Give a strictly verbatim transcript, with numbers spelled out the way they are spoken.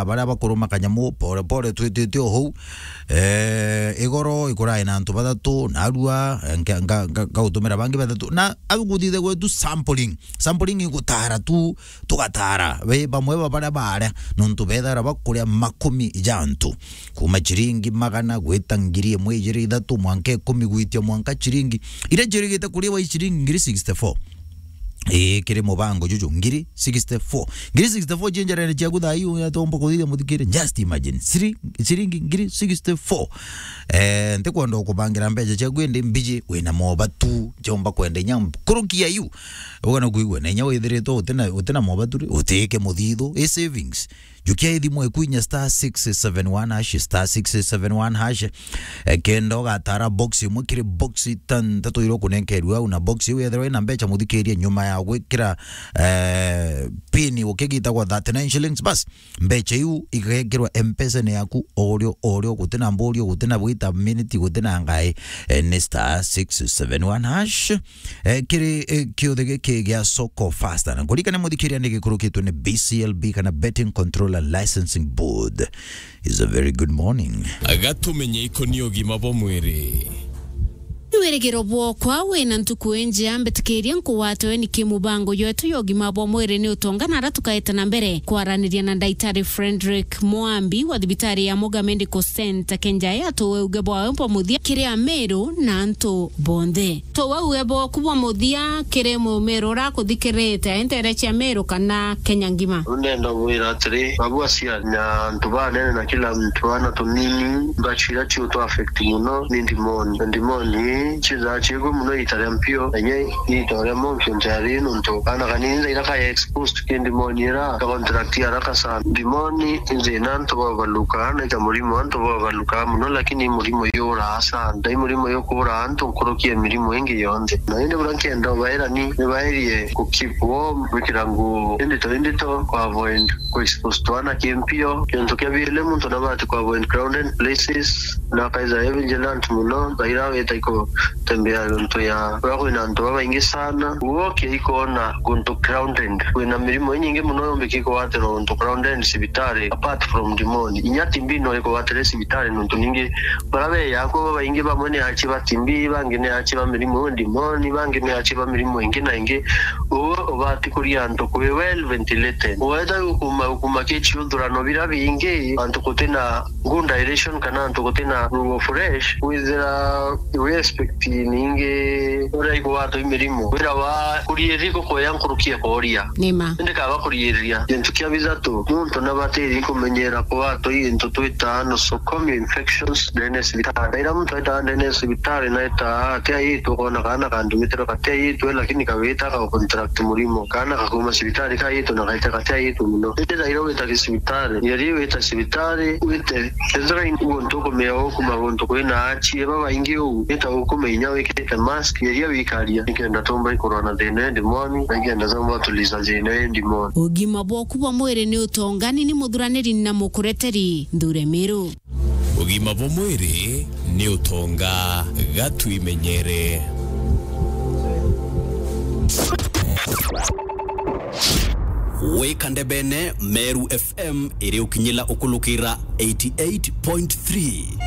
baria bakuruma kanyamu pore pore twitite o hou. Eh, igoro ikurai na antu bathatu, narua, eh, nka-, nka-, nka-, nkagutumira bangi bathatu. Na au nguthithe gwetu sampling. Sampling igutara tu, tugatara. We bamwe ba baria baria, nontu bethaira bakuria makumi ja antu. Kuma chiringi magana gwita ngiri imwe, ijiri, ithatu, mwanka ikumi, gwitia mwanka chiringi. Iria njirigite kuriwa i chiringi ngiri sixty-four. Ii, kiri mubango juju, ngiri sixty-four. Ngiri sixty-four cie njarene ciaku thaa ii, uyatomba kuthithia muthikiri. Just imagine. Siri-, ciringi ngiri sixty-four. Eh, ntikwenda ukubangira mbeca ciaku indi mbiji, wina mobatu, ciomba kwenda inya nkuruki ya iu. Ugana kuigua, na inya withiritwe utina, utina mobatu ri, utike muthithu, i savings. Jukia ithimu eku inya star six seven one hash, star six seven one hash. Eh, kenda ugatara box imwe kiri box itantatu iria ukunenkerua au, na box iu yethirwa ina mbeca muthikiria nyuma ya gwikira, eh, pin ukigitagwa thirty-nine shillings. Bas, mbeca iu igekirwa M-Pesa-ini yaku orio orio, gutina mburio, gutina bwita minute, gutina ngai, eh, ni star six seven one hash. Eh, kiri, eh, kiuthi giki gia Soko Fasta. Na kuririkane muthikiria ni gikurukitwe ni B C L B kana Betting Control and Licensing Board. Is a very good morning. Gatumenye ikoni ugima bwa mwiri. Ni wirigiro bwokwa wina ntuku injia, mbitikiria nkuwatwe ni kimubango yetu ya ugima bwa mwiri ni utonga na ara tukaeta na mbere kwaraniria na Ndaitari Frederick Mwambi wa thibitari ya Muga Medical Center Kenjai atuwe uge bwawe bwa muthia kiri Amiru na antu bonthe. Tuwe uge bwaku bwa muthia kiri Mumiru ura akuthikirite, ntere cia Miru kana Kenya ngima. Ndenda gwira atiri, babu aciari na antu banene na kila mtu ana tunini, mbachu iria ciutu affect muno ni ndimoni. Na ndimoni ii ciithaa ciigwe muno iita ria mpio, na inya iita ria monkio ntiari nontu kaana kanini thaira kaya exposed ki ndimoni ira ka contract haraka sana. Ndimoni i thina antu babaluka, na ita murimo antu babaluka muno, lakini i murimo yuraa sana. Na i murimo yukuraa antu nkuruki ya mirimo ingi yonthe. Na indi buria nkienda ubaira ni, ni baerie ku keep warm, gwikira nguo indito indito, ku avoid ku expose twana ki mpio. Kintu kia biili, muntu nabati ku avoid crowded places, na akaitha e vigilant muno, thaira wita ikutembea untu ya kuria kwina antu babaingi sana. Uo kiaikona guntu crowded, kwina mirimo inyingi muno yombiki kugwatirwa untu crowded cibitari, apart from ndimoni. Inya T B no ikugwatire cibitari, nontu ningi baria beya akwo babaingi, bamwe ni achi ba T B, bangi ni achi ba mirimo iu ndimoni, bangi ni achi ba mirimo ingi na ingi. Uo ubati kuria antu kwi well ventilated. Uweta ukuma, ukuma ki ciuthurano biria bingi, antu gutina good aeration kana antu gutina ruo fresh, withira we expect ningi uria ikugwatwa i mirimo. Wira wa kuriiri gukuya nkuruki ya kuria. Nima. Indi kaba kuriiriria. Gintu kia bithatu, muntu nabatiri kumenyera kugwatwa i gintu twitaa nosocomial infections ndene ya cibitari. Ira muntu aitaa ndene ya cibitari, na aitaa ati aitu, ukona kaana kandumitire gati aitu, lakini kawita ka contract murimo. Kaana kakuma cibitari kaitu na gaita gati aitu muno. Indi thaira wita ki cibitari, yari wita cibitari, wite, ethira i guntu ukumea ukuma guntu kwina achie babaingi uu, ita ukumenya wikirite mask, geria wikaria, nikenda tumba ikurwa na thina ya ndimoni, na ikenda tumba tuliza thina ya ndimoni. Ugima bwaku bwa mwiri ni utongani ni muthuraniri na mukureteri Nthure Miru. Ugima bwa mwiri ni utonga, gatwimenyere. Wika ndebene, Meru F M iri ukinyila ukulukira eighty eight point three.